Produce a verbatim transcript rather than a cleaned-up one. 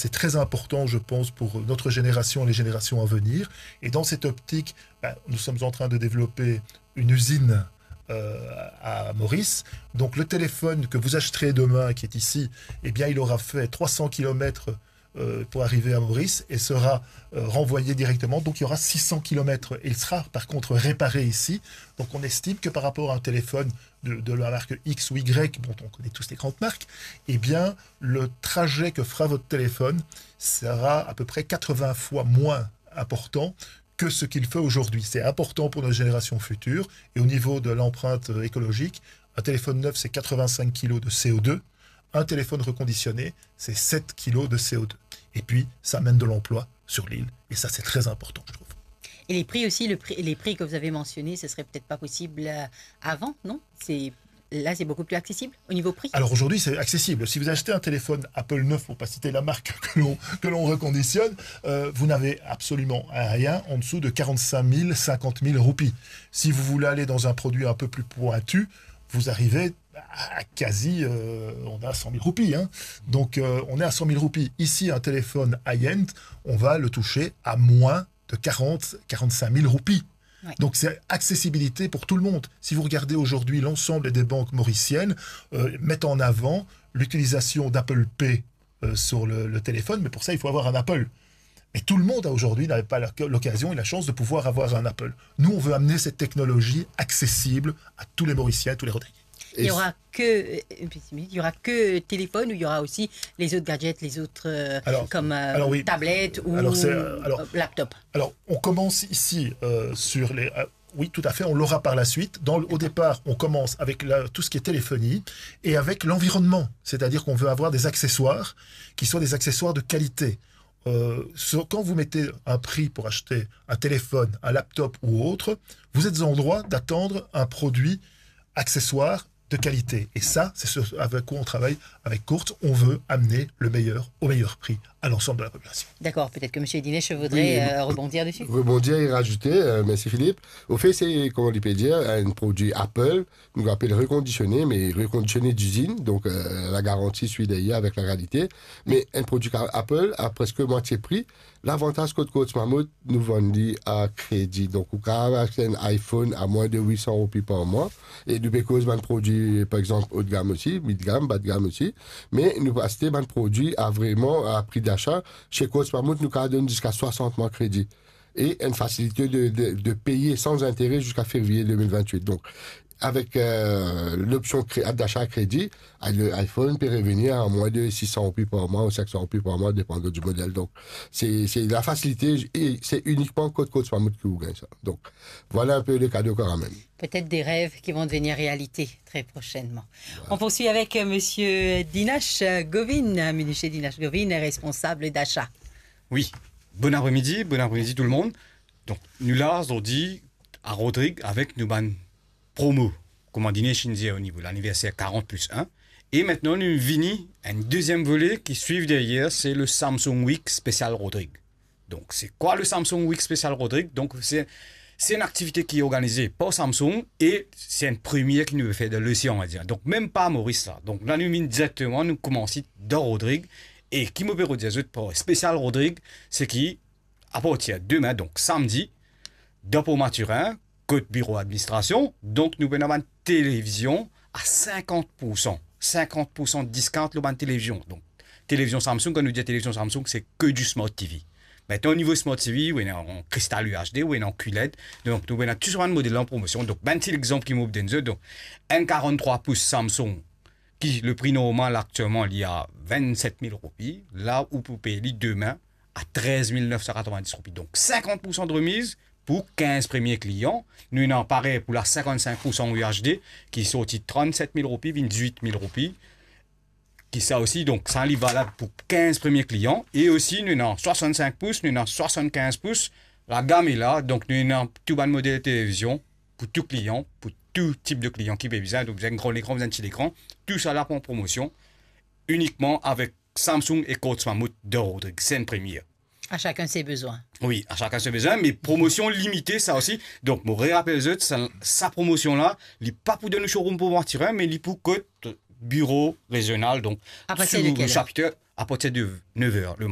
C'est très important, je pense, pour notre génération et les générations à venir. Et dans cette optique, ben, nous sommes en train de développer une usine, euh, à Maurice. Donc le téléphone que vous achèterez demain, qui est ici, eh bien, il aura fait trois cents kilomètres, euh, pour arriver à Maurice et sera, euh, renvoyé directement. Donc il y aura six cents kilomètres et il sera par contre réparé ici. Donc on estime que par rapport à un téléphone de, de la marque X ou Y, bon, on connaît tous les grandes marques, eh bien, le trajet que fera votre téléphone sera à peu près quatre-vingts fois moins important que ce qu'il fait aujourd'hui. C'est important pour nos générations futures. Et au niveau de l'empreinte, euh, écologique, un téléphone neuf, c'est quatre-vingt-cinq kilos de C O deux. Un téléphone reconditionné, c'est sept kilos de C O deux. Et puis, ça amène de l'emploi sur l'île. Et ça, c'est très important, je trouve. Et les prix aussi, le prix, les prix que vous avez mentionnés, ce serait peut-être pas possible, euh, avant, non ? C'est, là, c'est beaucoup plus accessible au niveau prix ? Alors aujourd'hui, c'est accessible. Si vous achetez un téléphone Apple neuf, pour pas citer la marque que l'on, que l'on reconditionne, euh, vous n'avez absolument rien en dessous de quarante-cinq mille, cinquante mille roupies. Si vous voulez aller dans un produit un peu plus pointu, vous arrivez à quasi, euh, on a cent mille roupies, hein. Donc, euh, on est à cent mille roupies. Ici, un téléphone high-end, on va le toucher à moins de quarante, quarante-cinq mille roupies. Ouais. Donc, c'est accessibilité pour tout le monde. Si vous regardez aujourd'hui, l'ensemble des banques mauriciennes, euh, mettent en avant l'utilisation d'Apple Pay, euh, sur le, le téléphone, mais pour ça, il faut avoir un Apple. Mais tout le monde a aujourd'hui n'avait pas la, l'occasion et la chance de pouvoir avoir un Apple. Nous, on veut amener cette technologie accessible à tous les Mauriciens, tous les Rodriguiens. Il y aura que, euh, une petite minute, il y aura que téléphone ou il y aura aussi les autres gadgets, les autres, euh, Alors, comme, euh, alors oui. tablette ou, Alors, c'est, euh, alors, euh, laptop ? Alors, on commence ici, euh, sur les, euh, oui, tout à fait, on l'aura par la suite. Dans le, au D'accord. départ, on commence avec la, tout ce qui est téléphonie et avec l'environnement. C'est-à-dire qu'on veut avoir des accessoires qui soient des accessoires de qualité. Euh, sur, quand vous mettez un prix pour acheter un téléphone, un laptop ou autre, vous êtes en droit d'attendre un produit accessoire de qualité. Et ça, c'est ce avec quoi on travaille avec Courts. On veut amener le meilleur au meilleur prix à l'ensemble de la population. D'accord, peut-être que monsieur Dinesh voudrait, Oui, euh, rebondir dessus. Rebondir et rajouter, euh, merci Philippe. Au fait, c'est, comment on peut dire, un produit Apple, nou apel rekondisioné, me rekondisioné dizinn, donk, euh, la garanti swi deryer avek la kalite. Me enn prodwi ka-, Apple a preske mwatie pri. Lavantaz kot Courts Mammouth, nou vann li a kredi. Donk, ou kapav aste enn iPhone a mwin de wit san roupi par mwa. E nou pe koz bann prodwi, par exanp, haut de gamme osi, mid gamme, bas de gamme osi. Me nou pe aste bann prodwi a vreman, a pri dasa. Chez Courts Mammouth, nou kapav donn ziska swasant mwa kredi. E enn fasilite de, de, de peye san zintere ziska fevriye de mil vintwit. Donk, avek, euh, lopsion kre-, dasa a kredi, a, le iPhone pe revenir a mwin de sis san roupi par mwa ou senk san roupi par mwa, depandan di model. Donk, se, se la fasilite e se inikman kot Courts Mammouth ki ou gagn sa. Donk, vwala enpe le kado karamel. Peut-être des rêves qui vont devenir réalité très prochainement. Voilà. On poursuit avec, euh, monsieur Dinash, euh, Govin, euh, monsieur Dinash Govin, responsable d'achat. Wi, bon apremidi, bon apremidi tou lemonn. Donk, nou la zordi a Rodrig avek nou bann promo, kouma Dinesh inn dir, o nivo laniverser karant plis enn. E aster nou vini enn deziem vole ki swiv deryer, se le Samsung Week spesial Rodrig. Donk, se kwa le Samsung Week spesial Rodrig ? Donk, se, se enn aktivite ki organize par Samsung e se enn premie ki nou pe fer dan losean, on va dir. Donk, mem pa Moris la. Donk, la nou vinn direkteman, nou koumans dan Rodrig. E ki mo pe redir zot par spesial Rodrig, se ki, apartir demin, donk samdi, dan Port Mathurin, kot biro administrasion, donk nou pena bann televizion a sinkant poursan, sinkant poursan discount lor bann televizion. Donk, televizion Samsung, kan nou dir televizion Samsung, se ke di Smart T V. Aster, o nivo Smart T V, ou ena an kristal U H D, ou ena an QLED. Donk, nou ena tou sa bann model la an promosion. Donk, bann ti lexanp ki mo pou donn zot. Donk, enn karant-trwa pous Samsung, ki le pri normal aktielman, li a vennset mil roupi. La, ou pou pey li demin a trez mil nef san katrevin-dis roupi. Donk, sinkant poursan de remiz pou kinz premie klian. Nou ena parey pou la sinkant-sink poursan U H D, ki sorti trant-set mil roupi, vinn dizwit mil roupi. Ki sa osi, donk, sa li valab pou kinz premie klian. E osi, nou ena swasant-sink pous, nou ena swasant-kinz pous. Lagam la, donk, nou ena tou bann model televizion pou tou klian, pou tou tip de klian ki pe bizin. Donk, bizin gran lekran, bizin ti lekran. Tou sa la pou an promosion. Inikman avek Samsung e Courts Mammouth dan Rodrig, se enn premie. À chacun ses besoins. Wi, à chacun ses besoins, me promosion limite sa osi. Donk, mo rerapel zot, sa, sa promosion la, li pa pou dan nou showroom Port Mathurin, me li pou kot biro rezional, donk, Apartir de sou kel er? Chapitre, apartir de nef er lematin.